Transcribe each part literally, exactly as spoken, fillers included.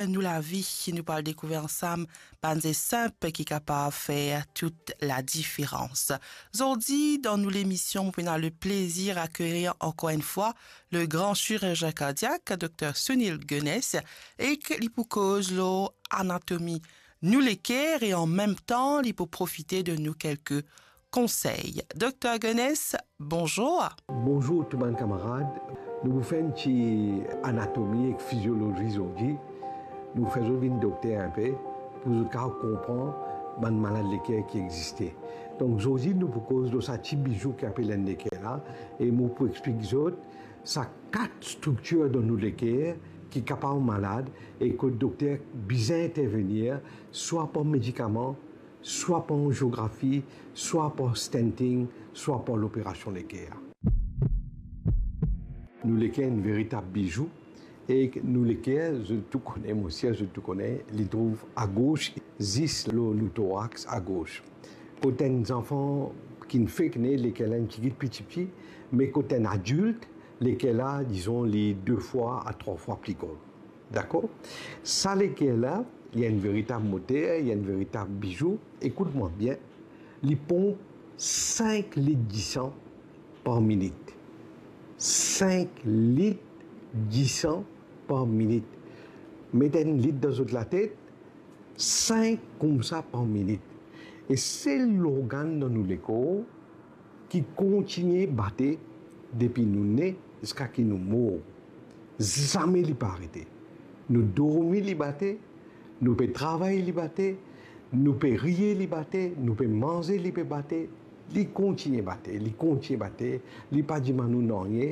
nou lavi, nou pou al dekouver ansam bann ze sinp ki kapav fer tout ladiferans. Zordi, dan nou lemision, nou ena le plezir akeyir ankor enn fwa le gran sirizien kardiak, Dokter Sunil Gunness, e ki li pou koz lor anatomi nou leker e an mem tan, li pou profite donn nou kelke konsey. Dokter Gunness, bonzour. Bonzour tou bann kamarad. Nou pou fer enn ti anatomi ek fiziolozi zordi. Nou pou fer zot vinn dokter inpe, pou zot kapav konpran bann malad leker ki existe. Donk, zordi, nou pou koz lor sa ti bizou ki apel enn leker la, e mo pou explik zot sa kat striktir dan nou leker ki kapav malad e kot dokter bizin intervenir, swa par medikaman, swa par anziografi, swa par stenting, swa par loperasion leker. Nou leker enn veritab bizou, e nou leker, zot tou kone, mo sir zot tou kone, li trouv agos, zis lor nou torax agos. Kot enn zanfan ki fek ne, leker la enn tigit pli tipti, me kot enn adilt, leker la, dizon, li de fwa a trwa fwa pli gran. Dakor? Sa leker la, li enn veritab moter, li enn veritab bizou. Ekout mwa bien, li ponp sink lit disan par minit. Sink lit disan par minit. Met enn lit dan zot latet, sink koumsa par minit. E sel lorgann dan nou lekor ki kontigne bate depi nou ne ziska ki nou mor. Zame li pa arete. Nou dormi, li bate, nou pe travay, li bate, nou pe riye, li bate, nou pe manze, li pe bate. Li kontigne bate, li kontigne bate, li pa dimann nou nanye,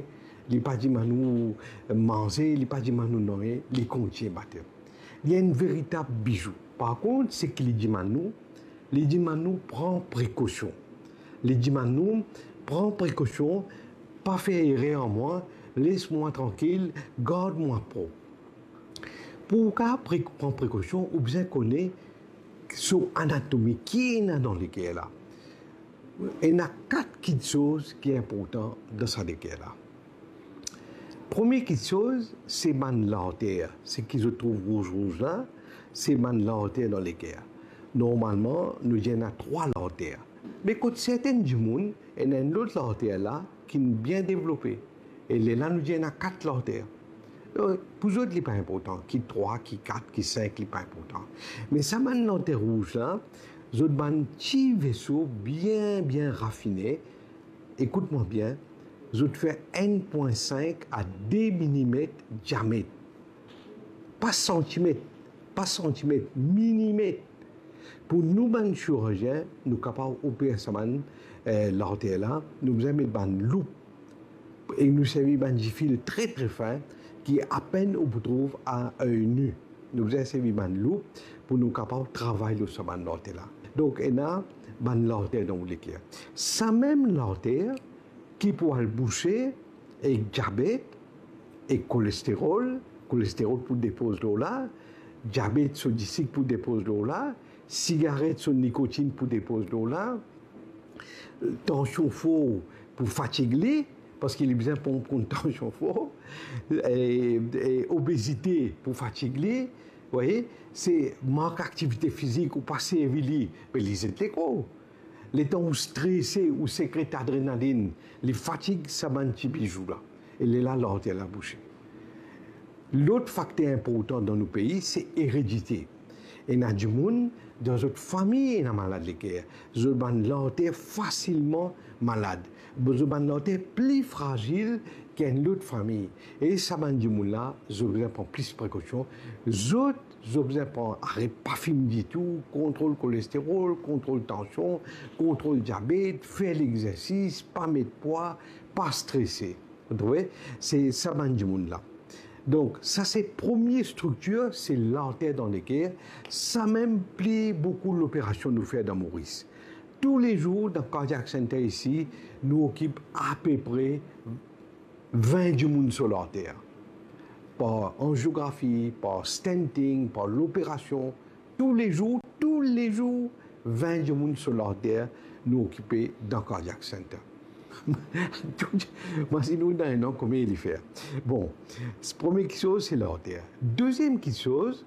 li pa dimann nou manze, li pa dimann nou nanye, li kontigne bate. Li enn veritab bizou. Par kont, seki li dimann nou, li dimann nou pran prekosion. Li dimann nou pran prekosion, pa fer erer ar mwa, les mwa trankil, gard mwa prop. Pou ou kapav pre-, pran prekosion, ou bizin kone so anatomi, ki ena dan leker la. Ena kat kiksoz ki inportan dan sa leker la. Premie kiksoz, se bann larter, seki zot trouv rouz rouz la, se bann larter dan leker. Normalman, nou dir ena trwa larter. Me kot sertenn dimoun, ena enn lot larter la ki bien devlope. E lerla nou dir ena kat larter. Donk, pou zot, li pa inportan, ki trwa, ki kat, ki sink, li pa inportan. Me sa bann larter rouz la, zot bann ti veso bien, bien rafine, ekout mwa bien, zot fer enn pwin sink a de milimet diamet. Pa santimet, pa santimet, milimet. Pou nou bann sirizien, nou kapav oper sa bann, eh, larter la, nou bizin met bann loup. E nou servi bann difil tre, tre fin, ki apenn ou pou trouv a oey ni. Nou bizin servi bann loup pou nou kapav travay lor sa bann larter la. Donk, ena bann larter dan ou leker. Sa mem larter ki pou al bouse ek diabet, ek kolesterol, kolesterol pou depoz lor la, diabet, so disik pou depoz lor la, sigaret, so nikotin pou depoz lor la, tansion for pou fatig li, parski li bizin ponp kont tansion for, e, e obezite pou fatig li, voye, se mank aktivite fizik ou pa servi li, be li zet lekor. Letan ou strese, ou sekret adrenalinn, li fatig sa bann ti bizou la. E lerla larter la bouse. Lot fakter inportan dan nou pei, se eredite. Ena dimoun dan zot fami ena malad leker. Zot bann larter fasilman malad. Zot bann larter pli frazil ki enn lot fami. E sa bann dimoun la, zot bizin pran plis prekosion. Zot, zot bizin pran, aret pa fim ditou, kontrol kolesterol, kontrol tansion, kontrol diabet, fer lexersis, pa met pwa, pa strese. Vous trouvez? Se sa bann dimoun la. Donk, sa se premie striktir, se larter dan leker. Sa mem pli boukou loperasion nou fer dan Moris. Toulezour, dan Cardiac Center isi, nou okip apepre vin dimoun so larter. Par anziografi, par stenting, par loperasion, toulezour, toulezour, vin dimoun so larter nou okipe dan Cardiac Center. Imazinn ou dan enn an konbien li fer. Bon, premie kiksoz, se larter. Deziem kiksoz,